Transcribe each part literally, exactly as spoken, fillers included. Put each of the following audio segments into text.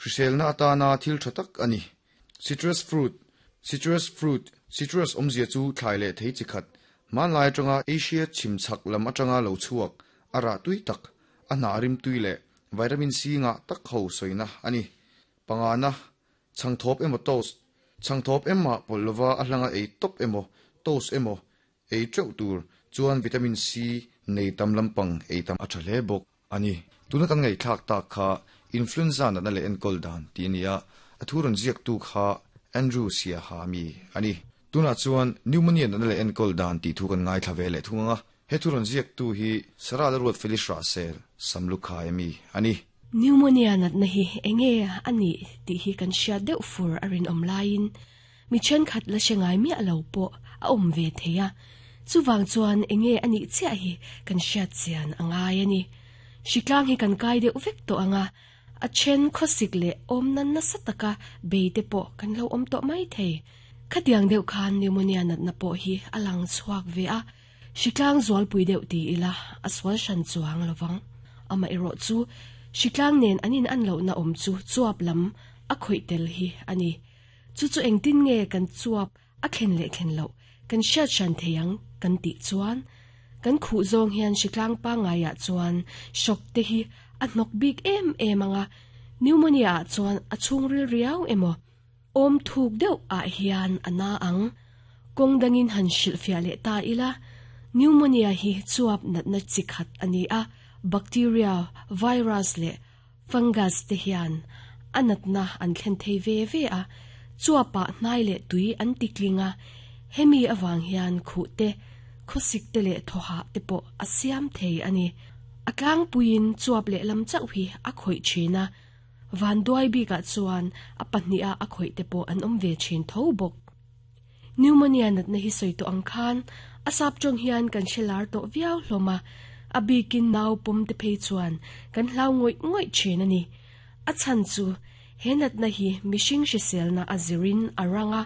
Hriselna atana thil tha tak ani. Citrus fruit, citrus fruit, citrus awmzia chu thlai leh thei chi khat. Hmanlai atanga Asia chhim chhak lam atanga lo chhuak, a rah tui tak, a hnah rim tui leh vitamin C ngah tak ho sawina ani. Pangana, chhangthawp emaw toast, chhangthawp ema pawlh lova a hlanga ei tawp emaw toast emaw ei teuh tur chuan vitamin C nei tam lampang ei tam a tha hle bawk ani. Tuna kan ngaihthlak tak kha influenza natna leh enkawl dan tih a ni a, a thu rawn ziak tu kha Andrew Siaha mi ani. Tunah chuan pneumonia natna leh enkawl dan tih thu kan ngaithla ve leh thung anga, he thu rawn ziak tu hi Sarah Lalruat Felice Rahsel Samlukhai mi ani. Pneumonia natna hi enge ani tih hi kan hriat deuh fur a rinawm laiin mi thenkhat la hre ngai miah lo pawh a awm ve thei a, chuwang chuan enge ani chiah hi kan hriat chian a ngai ani. Hritlang hi kan kai deuh vek tawh anga, a then khawsik leh awm nan nasa taka bei te pawh kan lo awm tawh mai thei. Khatiang deuh khan pneumonia natna pawh hi a lang chhuak ve a, hritlang zualpui deuh ti ila a sual hran chuang lovang. Ama erawh chu hritlang nen an in an lohna awm chu chuap lam a khawih tel hi ani. Chu chu engtin nge kan chuap a thlen leh thlen loh kan hriat hran thei ang kan tih chuan kan khuh zawng hian hritlang pangaiah chuan shock te hi a hnawk bik em em anga, pneumonia ah chuan a chhungril riau emaw awm thuk deuh ah hian a na ang. Kawng dangin han hrilhfiah leh ta ila, pneumonia hi chuap natna chi khat ani a, bacteria, virus leh fungus te hian a natna an thlen thei ve ve a, chuapah hnai leh tui an tikling a, hemi awang hian khuh te khawsik te leh thawha te pawh a siam thei ani. A tlangpuiin chuap leh lam chauh hi a khawih thin a, van duai bikah chuan a pahnih a a khawih te pawh an awm ve thin tho bawk. Pneumonia natna hi sawi tawh ang khan a sap tawng hian kan hrelar tawh viau hlawm a, a bikin nau pawm te phei chuan kan hlau ngawih ngawih thin ani. A chhan chu he natna hi mihring hriselna a zirin a ranga,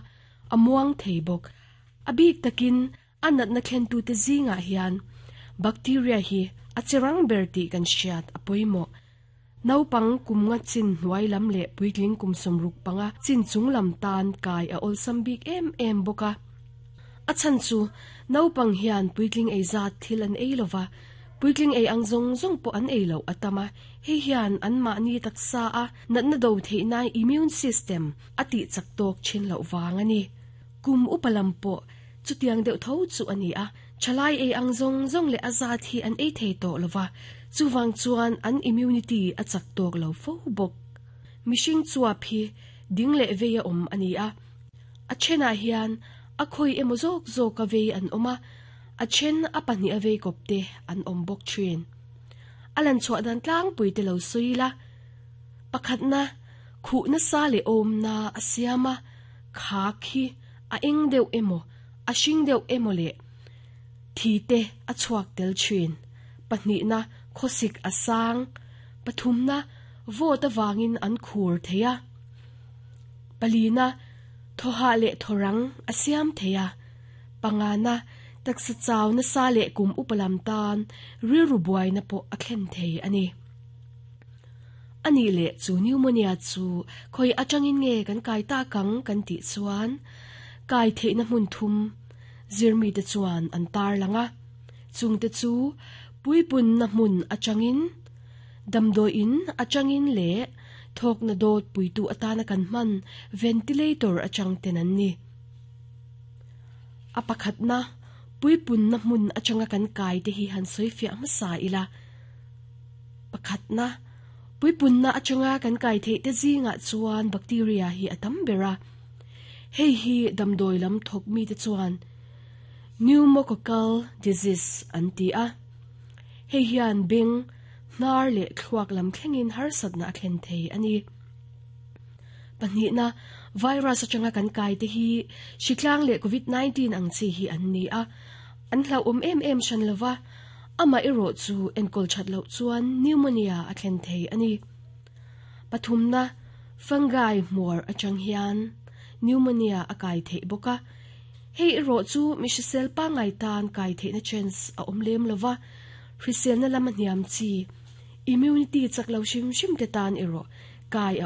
a muang thei bawk. A bik takin a natna thlen tu te zingah hian bacteria hi a cherang ber tih kan hriat a pawimawh. Naupang kum nga chin hnuai lam leh puitling kum sawmruk panga chin chung lam tan kai a awlsam bik em em bawk a. A chhan chu naupang hian puitling ei zat thil an ei lova, puitling ei ang zawng zawng pawh an ei loh a tam a, hei hian an mahni taksa a natna do theihna immune system a tih chak tawk thin loh vang ani. Kum upa lam pawh chutiang deuh tho chu ani a, thalai ei ang zawng zawng leh a zat hi an ei thei tawh lova, chuwang chuan an immunity a chak tawk lo fo bawk. Mihring chuap hi ding leh vei a awm ani a, a thenah hian a khawi emaw zawk zawk a vei an awm a, a then a pahnih a vei kawp te an awm bawk thin. A lan chhuah dan tlangpui te lo sawi la, pakhatna khuh na sa leh awm na a siam a, khak hi a eng deuh emaw a hring deuh emaw leh thi te a chhuak tel thin. Pahnihna khawsik a sang, pathumna vawt awangin an khur thei a, palina thawha leh thawrang a siam thei a, pangana taksa chau na sa leh kum upalam tan rilru buaina pawh a thlen thei ani. Ani leh chu pneumonia chu khoi atangin nge kan kai ta kang kan tih chuan kai theihna hmun thum zirmi te chuan an tar langa, chung te chu puipun na hmun atangin, damdawiin atangin leh thawk na dawt puitu atana kan hman ventilator atang ten an ni. A pakhatna puipun na hmun atanga kan kai te hi han sawi fiah hmasa ila. Pakhatna puipun na atanga kan kai theih te zingah chuan bacteria hi a tam ber a, hei hi damdawi lam thawk mi te chuan pneumococcal disease an ti a, hei hian beng hnar leh thluak lam thlengin harsatna a thlen thei ani. Pahnihna virus atanga kan kai te hi hritlang leh covid nineteen ang chi hi an ni a, an hlauhawm em em hran lova, ama erawh chu enkawl that loh chuan pneumonia a thlen thei ani. Pathumna fungi hmuar atang hian pneumonia a kai thei bawk a, hei erawh chu mi hrisel pangai tan kai theihna chance a awm lem lova, hriselna lama hniam chi immunity chak lo hrim hrim te tan erawh kai a